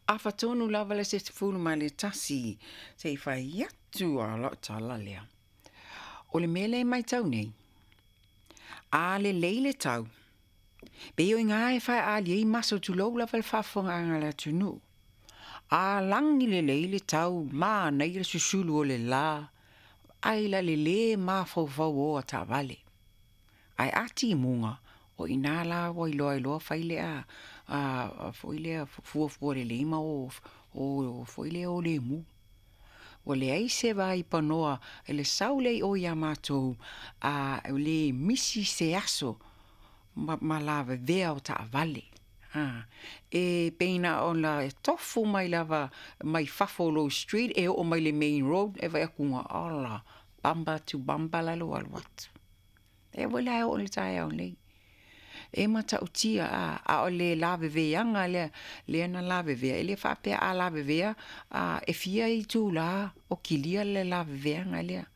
Afa tonu lava le 11 se i fai atu a lau tala lea. O le mea lea e matau nei, a lelei le tau, pei o i ina e faaalia ai maso tulou lava le faafofogaaga a le atunuu. A lagi lelei le tau, manaia le susulu o le la, ai la le lē mafaufau o taavale. Ae a timuga, o i ina la ua iloa ai loa fai lea foi lea fuafua lelei ma o foi lea o lemu. Ua leai se vaipanoa i le sau lea i o ia matou, a le misi se aso ma lavevea o taavale. E pei na ona tofu mai lava mai fafo o lou street e oo mai le main road e vaai atu ola, bumper to bumper la lou alu atu. E foi la e oo i le taeao nei. E matautia a o le laveveaga lea lea na lavevea, e le faapea a lavevea e fia itulā o kilia le laveveaga lea.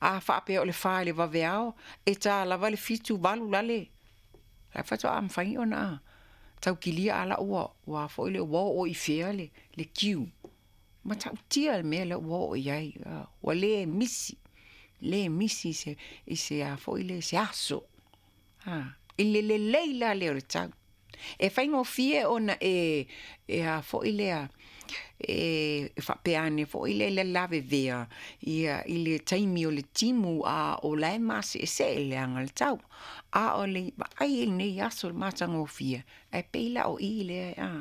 A faapea o le 4 i le vaveao, e ta lava le 7, 8 lale, la e faatoa mafai ona tau kilia a la ua ua foi le ua oo i fea le queue. Matautia le mea lea ua oo i ai, ua le misi, le misi i se a foi lea se aso. I le lelei la lea o le tau. E faigofie ona e a foi lea e faapea ane foi lea i le lavevea ia i le taimi o le timu a o la e maseesee le aga o le tau. A o le vaai i lenei aso i le matagofie, ae pei la o i lea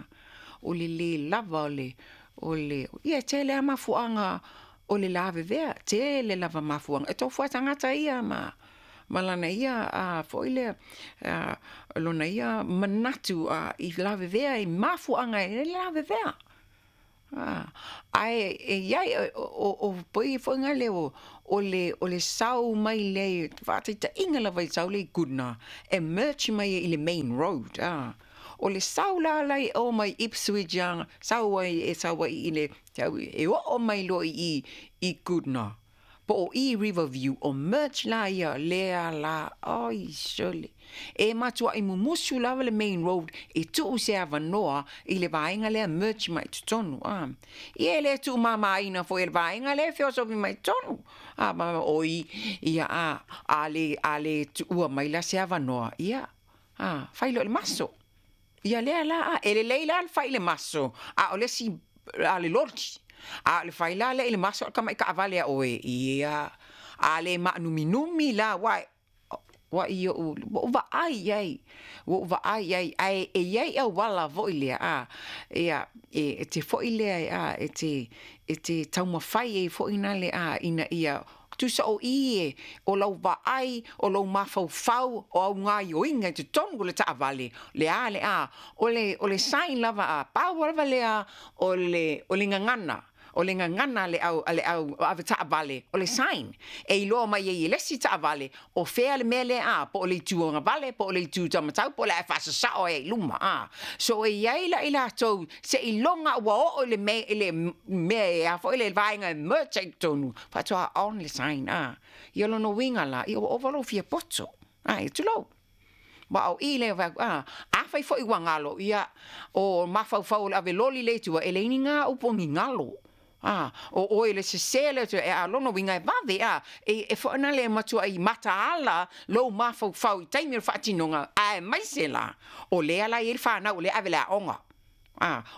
o le lē lava o le ia e tele lava mafuaaga o le lavevea, tele lava mafuaaga. E tofu lava tagata ia ma lana ia foi lea lona ia manatu i lavevea i mafuaaga e lavevea. Ae e i ai o pei foi lea o le sau mai lea faataitaiga lava i sau lea i Goodna e merge mai i le main road. O le sau la la e o mai Ipswich sau ai e sau ai i le e oo mai loa i Goodna po o i Riverview o merge la ia lea la oi sole. E matuai mumusu lava le main road e tuu se avanoa i le vaega lea merge mai totonu. Ia e le tuumamaina foi e le vaega lea e feosofi mai totonu. Oi ia a le tuua mai la se avanoa ia fai loa i le maso. Ia lea la e lelei la le fai i le maso a o le isi a le loli. A o le fai la lea i le maso o le tamai taavale a oe ia a le maanuminumi la ua ua ou vaai i ai, ua ou vaai i ai, ae e i ai auala foi lea, ia, e te foi lea, e te taumafai ai foi na le ina ia tusa o i e, o lau vaai, o lou mafaufau, o au gaoioiga i totonu o le taavale, le a le a, o le sign lava a pau lava lea o le gagana. O le gagana a le au ave taavale, o le sign. E iloa mai ai e le isi taavale, o fea le mea lea po o le itu agavale, po o le itu taumatau, po o le a e faasasao ai i luma. So e i ai la i latou, seiloga ua oo i le mea e a foi le vaega e merge ai i totonu, faatoa on le sign. Ia lona uiga la, ia ua ova lou fia poto. E tulou. Ma o i lea fai atu, afai foi ua galo, ia, o mafaufau o le ave loli lea i tua, e leai ni gā upu o ni galo. O oe le sese lea e a lona uiga e vave, e foi na le matuai mataala lou mafaufau i taimi o le faatinoga, aemaise la, o lea la e i ai le fanau o lea e ave i le aoga.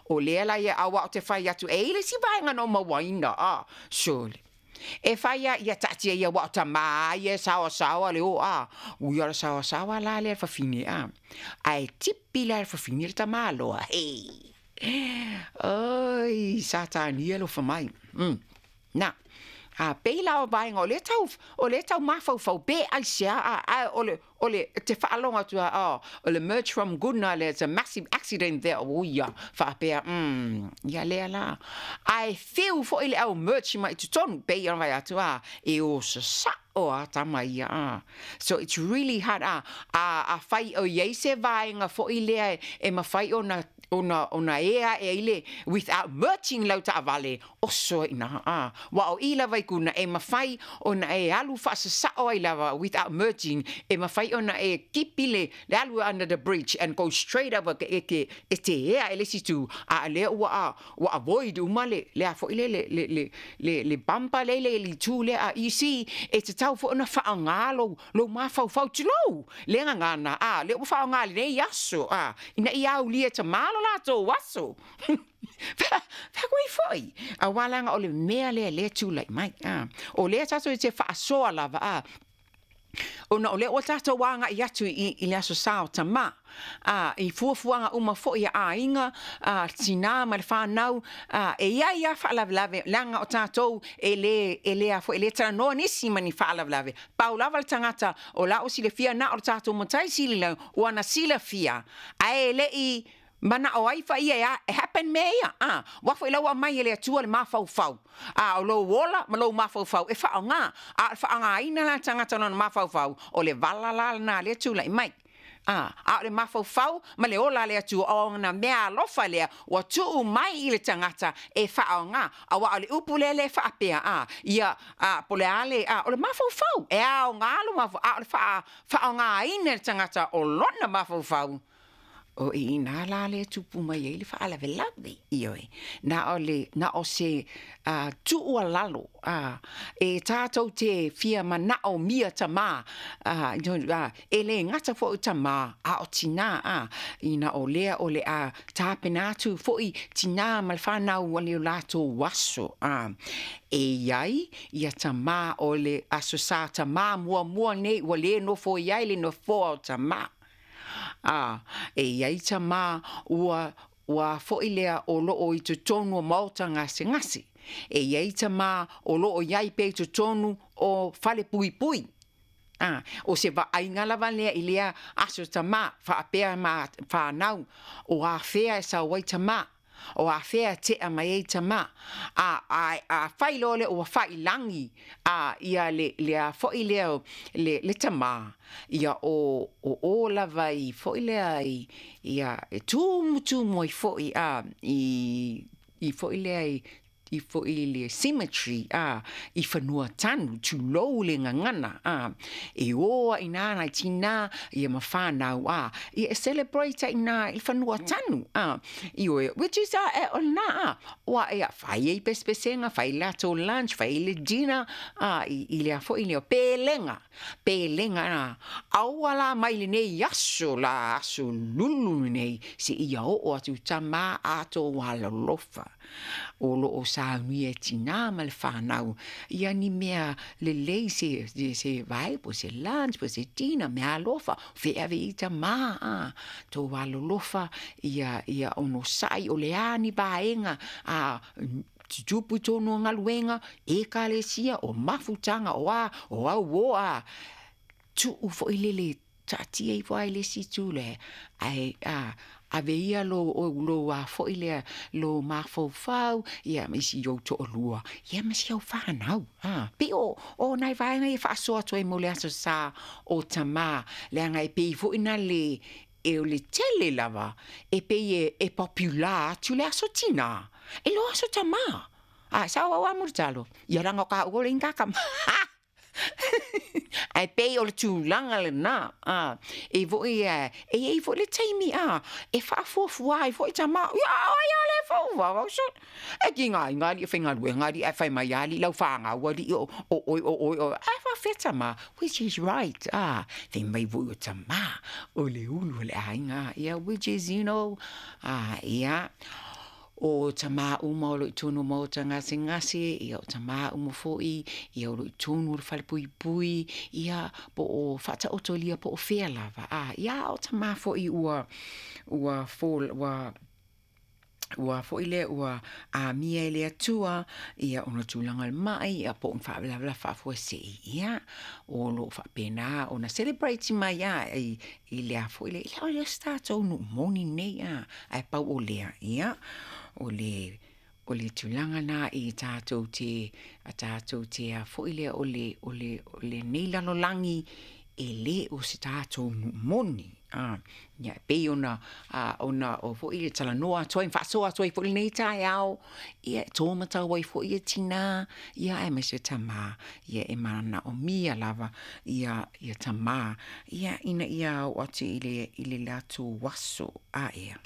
O lea la ia aua o te fai atu, e i ai le isi vaega na ou mauaina, surely. E fai a ia taatia ia aua o tamā ia e saoasaoa le o, ui o le saoasaoa la lea le fafine, ae tipi la le fafine le tamā loa, hei. Oi, Satani e alofa mai. Na, a pei la o vaega o lea tau, o lea tau mafaufau pe aisea, a o le, o le, te faalogo atu a, o le merge from Goodna lea, it's a massive accident there, o ia, faapea, ia lea la. Ae fiu foi le au merge mai totonu, pei ona fai atu, e o sasao. Sasa'o a tama ia a. So it's really hard a afai o i ai se vaega foi lea e mafai ona ona ea aʻe ai le without merging lau taavale, oso ai i ina a. Aua o i lava i Guna e mafai ona e alu faasasao ai lava without merging, e mafai ona e kipi le alu under the bridge and go straight over e te ea i le isi itu, a o lea ua avoid uma le a foi lea le bumper lea i le itu lea. You see, e tatau foi ona faaaoga lou mafaufau, tulou le gagana, a o lea ua faaaoga i lenei aso, a, ina ia aulia e tamā lo latou aso. Fai atu ai foi, aua leaga o le mea lea lea e tulai mai, a. O lea tatou te faasoa lava, a, ona o lea ua tatou agai atu i le Aso Sa o Tamā, a, i fuafuaga uma foi a aiga, a, tinā ma le fanau, a, e i ai lava faalavelave, leaga o tatou e le, e le a foi, e le talanoa nisi ma ni faalavelave. Pau lava le tagata o la ua silafia na o le tatou matai sili ua na silafia, ae le i manao ai fa ia e, e happen mea ia. A, ua foi lau aumai e le Atua le mafaufau. A, o lou ola ma lou mafaufau e faaaoga. A o le faaaogaina la tagata o lona mafaufau, o le vala la lena lea tulai mai. A, a o le mafaufau ma le ola a le Atua, o ona mea alofa lea ua tuu mai i le tagata e faaaoga. Aua o le upu lea le faapea, a, ia, a, po o le a le, a, o le mafaufau, e aoga lo mafaufau, a o le faaaogaina e le tagata o lona mafaufau, o i inā la lea tupu mai ai le faalavelave. Ioe, na o le, na o se tuualalo e tatou te fia manao mia tamā, e le gata foi o tamā a o tinā, ina o lea o le a tapena atu foi tinā ma le fanau o le latou aso. E i ai ia tamā o le Aso Sa tamā muamua nei ua le nofo i ai le nofoa o tamā. A, e i ai tamā ua, ua foi lea o loo i totonu o maota gasegase. E i ai tamā o loo i ai pea i totonu o fale puipui. A, o se vaaiga lava lea i lea aso tamā, faapea ma whānau, o afea e sau ai tamā, o afea e tea mai ai tamā. A fai loa lea ua failagi a ia le a foi lea le tamā, ia o o lava i foi lea i ia e tumutumu ai foi a i foi lea i foi i le cemetery a i fanua tanu, tulou le gagana a, e o ai inā nai tinā ia ma whānau a, ia e celebrate ai inā i fanua tanu a, ioe, which is a, e, o lena a, ua ia fai ai pesepesega, fai latou lunch, fai le dinner a, i lea foi lea pelega, pelega a, aua la mai lenei aso la, aso lulu lenei, seia oo atu tamā ato alolofa. O loo saunia e tinā ma le whānau ia ni mea lelei se, se vai, po se lunch, po se dinner, mea alofa, feave i tamā a, tō alolofa ia, ia onosai o le a ni vaega a, tutupu i tonu o galuega, ekalesia, o mafutaga, o a, o auō a, tuu foi lele taatia ifo ai le isi itu lea, ae a, ave ia lou, lou a foi lea, lou mafaufau, ia ma isi ou toalua, ia ma si au fanau. A, pei o nai vaega ia e faasoa atu ai mo le Aso Sa o Tamā, leaga e pei foi na le, e o le tele lava, e pei e popular atu le aso tinā, e lo aso tamā. A, sao au a Mulitalo, ia leaga o kāua o le ingakama. Ae pei o le tulaga lenā, a, e foi e, e i ai foi le taimi, a, e faafuafua ai foi tamā, ia, ai a le fuafua au so. E ki ngā inga alii e faigaluega alii ae fai mai alii lau fanau alii o o oe o oe o ae faafefea tamā, which is right, a, fai mai foi o tamā o le ulu o le aiga, ia, which is, you know, a, ia. O tamā uma o loo i totonu o maota gasegase, ia o tamā uma foi, ia o loo i totonu o le falepuipui, ia po o faataotolia po o fea lava, a, ia o tamā foi ua, ua fall, ua, ua foi lea ua amia e le Atua, ia ona tulaga o le mai, ia po o ni faalavelave faafuasei, ia, o loo faapena ona celebrate mai a i le a foi lea, ia o le isi tatou nuu moni nei a, ae pau o lea, ia, o le. O le tulaga lena i tatou te, a tatou te a foi lea o le, o le, o lenei lalolagi, e lē o se tatou nuu moni. A, ia e pei ona, a, ona o foi e talanoa atu ai ma faasoa atu ai foi i lenei taeao, ia e to matau ai foi ia tinā, ia aemaise tamā, ia e manaomia lava ia ia tamā, ia ina ia oo atu i le i le latou aso aea.